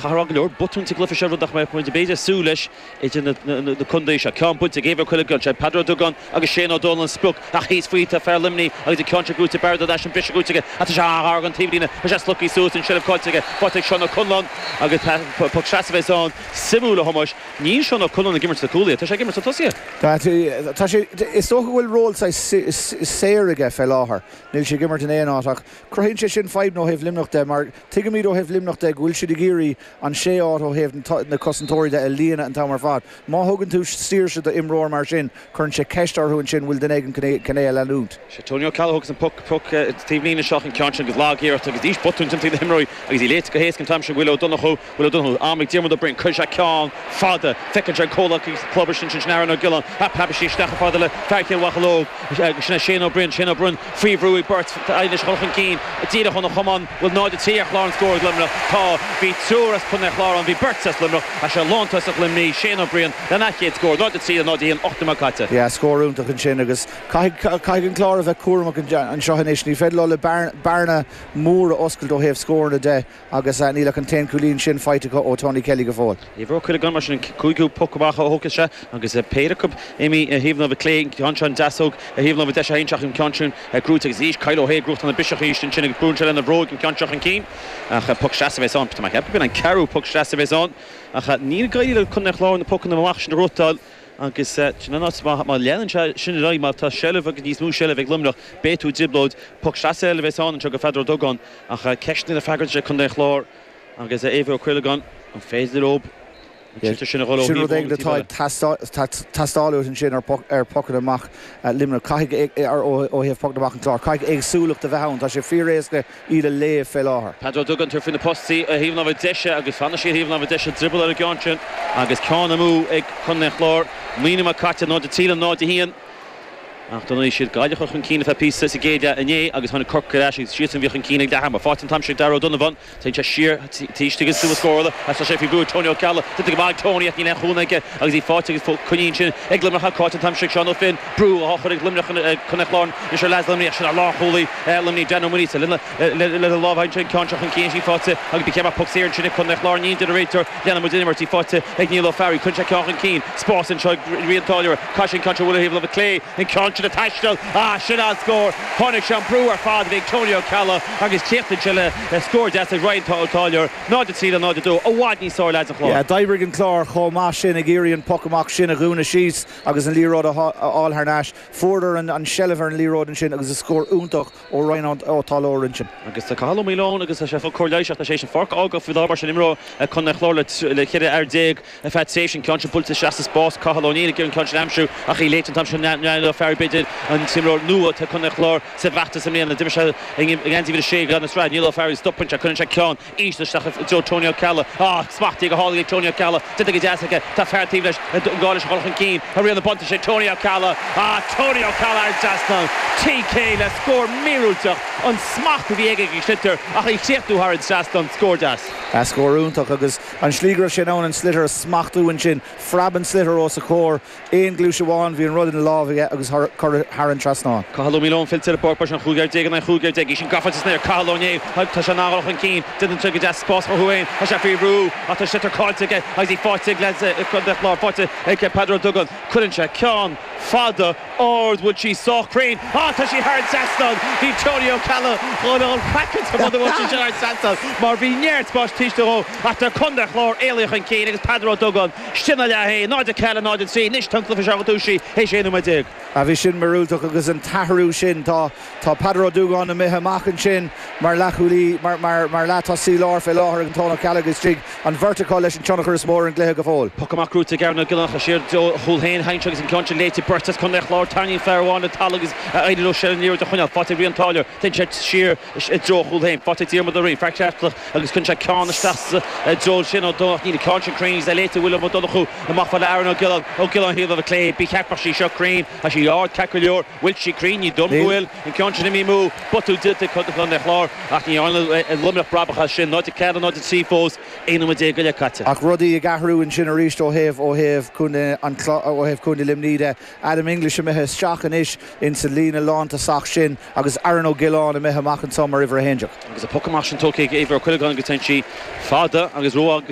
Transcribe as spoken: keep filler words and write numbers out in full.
Chaithfear a rá go leor botún sa gcluiche seo, rud nach mbeadh muid b'fhéidir ag súil leis idir na contaetha seo. Ceann buailte ag Éibhear Ó Cuileagáin, sé Peadar Ó Dúgáin agus Shane Ó Dónaill an sprioc ach thíos faoi tá fear Luimnigh agus an ceann seo gnóite Barra Dadash an briseadh gnóite aige ach tá sé an-ghar don taobhlíne, tá sé slogtha suas an seilbh caillte aige, faighte ag Seán Ó Conláin agus poc seasamh a bheas ann. Suimiúil a Thomáis, níl Seán Ó Conláin ag imirt sna cúlaithe, tá sé ag imirt sna tosaithe. Tá sé, is dócha go bhfuil ról saghas saor aige fé láthair. Níl sé ag imirt in aon áit ach cruthaíonn sé sin fadhb ó thaobh Luimneach de mar tuigimid ó thaobh Luimneach de go bhfuil siad ag iarraidh an sé áit ó thaobh na cosantóirí de a líonadh an t-am ar fad. Má thugann tú saoirse d'imreoir mar sin, cuireann sé ceist orthu ansin bhfuil duine éigin chun é a leanúint. Sé Tony Ó Ceallaigh a thógas an poc poc taobhlíne seo an ceann sin agus lag-iarracht agus arís botún timpeall na himreoirí agus í léite go héasca an t-am sin Will Ó Donnchú Will Ó Donnchú am ag Diarmuid Ó Broin cuireann sé ceann fada feiceann sé an comhleacaí club sin sin Aaron Ó Giolláin ach preabann sí isteach fada le fear Chill Mhocheallóg sin é Shane Ó Broin Shane Ó Broin faoi bhrú ag beirt anois dul chun cinn díreach óna chamán bhfuil náid a trí ar chlár an scóir ag Luimneach tá bhí triúr as Contae an Chláir ann bhí beirt as Luimneach ach sé lántosach Luimnigh Shane Ó Briain lena chéad scór náid a trí náid a haon ocht nóiméad caite. Yeah, scór iontach ansin agus caithfidh caithfidh an Clár a bheith cúramach anseo anois ní féidir leo le bearna mór a oscailt ó thaobh scóranna de agus níl ach an t-aon chúilín sin faighte acu ó Tony Kelly go fóill. Éibhear Ó Cuileagáin mar sin an cúigiú poc amach a thógfaidh sé agus péire acu imithe ar thaobh na láimhe clé an ceann seo an deasóg ar thaobh na láimhe deise a an ceann sin gnóite agus arís Kyle Ó hAodha gnóthachtáil na biseach arís ansin agus brúnn sé lena bhróig an ceann seo chun cinn ach poc seasamh a bheas ann. Tá mé ag ceapadh go b'in an ceathrú poc seasamh a bheas ann ach níl ag éirí le Contae an Chláir na pocanna amach sin a ghnóthachtáil agus sin an áit má leanann sé sin ar aghaidh má tá seilbh agus níos mó seilbh ag Luimneach beidh tú i dtrioblóid poc seasamh eile a bheas ann anseo go Pheadar Ó Dúgáin ach ceisteanna le freagairt sé Contae an Chláir agus Éibhear Ó Cuileagáin an féidir leo sin a dhul ó Sin rud éigin atá ag teastáil uait ansin ar pocanna amach Luimneach caithfidh ó thaobh pocanna amach an Chlár caithfidh éagsúlacht a bheith ann tá sé fíoréasca iad a léamh fé láthair. Peadar Ó Dúgáin tar faoi na postaí a thaobh na láimhe deise agus fanann sí ar thaobh na láimhe deise drioball ar an gceann sin agus ceann amú ag Contae an Chláir naoi nóiméad caite náid a trí le náid a haon ach d'fhan siad Gaillimh chun cinn feadh píosa sa gcéad leath inné agus tháinig Corcaigh ar ais agus siadsan a bhí chun cinn ag leath ama. Faighte an t-am sin ag Darragh O'Donovan Téann sé siar taobh agus suas scórála as tá sé faoi bhrú Tony Ó Ceallaigh Déanta go maith ag Tony ach níl aon chúnamh aige agus í faighte agus coinníonn sin ag Luimneach caillte an t-am sin ag Seán Ó Finn brú á chur ag Luimneach Contae an Chláir anois ar leads Luimnigh sin ar lánchúlaí Luimnigh Dan Ó Muiríosa lena lena lámh sin ceann seo chun cinn sí faighte agus bí ceap poc saor ansin ag Contae an Chláir ní de réiteoir leanann muid an imirt í faighte ag Niall Ó Fearraigh chun sé ceann chun cinn spás anseo Rian Táilliúir Caith sin ceann seo bhfuil thaobh láimhe clé an ceann sin ag taisteal ah sin an scór tháinig sé an brú ar fad bhí Tony Ó Ceallaigh agus críochnaíonn sé le scór deas ag Ryan Táilliúir náid a trí le náid a dó i bhfad níos fearr leads an Chláir. Yeah, d'oibrigh an Clár chomh maith sin ag iarraidh an poc amach sin a dhúnadh síos agus an liathróid a fháil thar n-ais. Fuaireadar an, an seilbh ar an liathróid ansin agus a scór iontach ó Ryan Ó Táilliúir ansin. Agus tá Cathal Ó Maoileoin agus tá sé fá cóir leighis tá sé sin pháirc a fhágáil faoi láthair mar sin imreoir Contae an Chláir le le ceithre fhear déag ar feadh tréimhse an ceann sin buailte isteach sa spás Cathal Ó Néill ag iarraidh an ceann sin a aimsiú ach í léite an t-am sin Niall Ó Fearraigh b'fhéidir an t-imreoir nua tá Contae an Chláir sa bhfeachtas i mbliana d'imir sé i ngeansaí uimhir a sé gan sraith Niall Ó Fearraigh stopann sé cuireann sé ceann íseal isteach i dtreo Tony Ó Ceallaigh ah smachtaithe go hálainn ag Tony Ó Ceallaigh déanta go deas aige tá fear taobh leis an gá leis a dhul chun cinn a rian na bunta sé Tony Ó Ceallaigh ah Tony Ó Ceallaigh ar trasnán TK le scór míorúilteach an smacht a bhí aige ag sliotar ach í chríochnú thar an trasnán scór deas. A scór iontach agus an slí go raibh sé in ann an sliotar a smachtú ansin phreab an sliotar os a chomhair aon ghluais amháin bhí an rud ina lámh aige agus curtha thar an trasnán. Cathal Ó Maoileoin fillte ar an bpáirc mar sin chúig fhear déag in aghaidh chúig fhear déag í sin gafa san aer Cathal Ó Néill tá sé an-dhul chun cinn déanann sé go deas spás chucu féin tá sé faoi bhrú ach tá sliotar caillte aige agus í faighte ag leads Contae an Chláir faighte ag Peadar Ó Dúgáin cuireann sé ceann fada ard bhfuil sí sách cruinn ah tá sí thar an trasnán bhí Tony Ó Ceallaigh dhul dhul craiceáilte muna bhfuil sí thar an trasnán mar bhí neart spáis taobh istigh dhó ach tá Contae an Chláir éalaithe chun cinn agus Peadar Ó Dúgáin sin a leath é náid a ceathair náid a trí anois tá an cluiche seo go dtús théis aon nóiméad déag. A bhí sin míorúilteach agus an t-athrú sin tá tá Peadar Ó Dúgáin imithe amach ansin mar leathchúlaí mar mar mar leath-tosaí láir fé láthair ag an Tony Ó Ceallaigh istigh an bheirt acu leis an tionchar is mó ar an gcluiche go fóill. Poc amach gnóite ag Aaron Ó Giolláin siar dó chúl féin haint agus an ceann sin léite beirt as Contae an Chláir tarraingíonn fear amháin le talamh agus éiríonn leo sé an liathróid a choinneáil faighte ag Rian Táilliúir téann sé siar i dtreo chúl féin faighte ag Diarmuid Ó Riain fear ceartlach agus chun sé ceann isteach sa dtreo sin ó Domhnach níl an ceann sin cruinn agus é léite William Ó Donnchú amach fá le Aaron Ó Giolláin Ó Giolláin thaobh láimhe clé bí cheapfadh sí seo cruinn tá sí ard ceart go leor bhfuil sí cruinn ní dóigh liom go bhfuil an ceann sin imithe amú botún déanta Contae an Chláir ach ní dhearna Luimneach brabach as sin náid a ceathair náid a trí fós aon nóiméad déag go leith caite. Ach rudaí ag athrú ansin arís ó thaobh ó thaobh Contae an ó thaobh Contae Luimnigh de Adam English imithe isteach anois insa líne lántosach sin agus Aaron Ó Giolláin imithe amach anseo mar uimhir a haon déag. Agus an poc amach sin tógtha ag Éibhear Ó Cuileagáin agus téann sí fada agus ró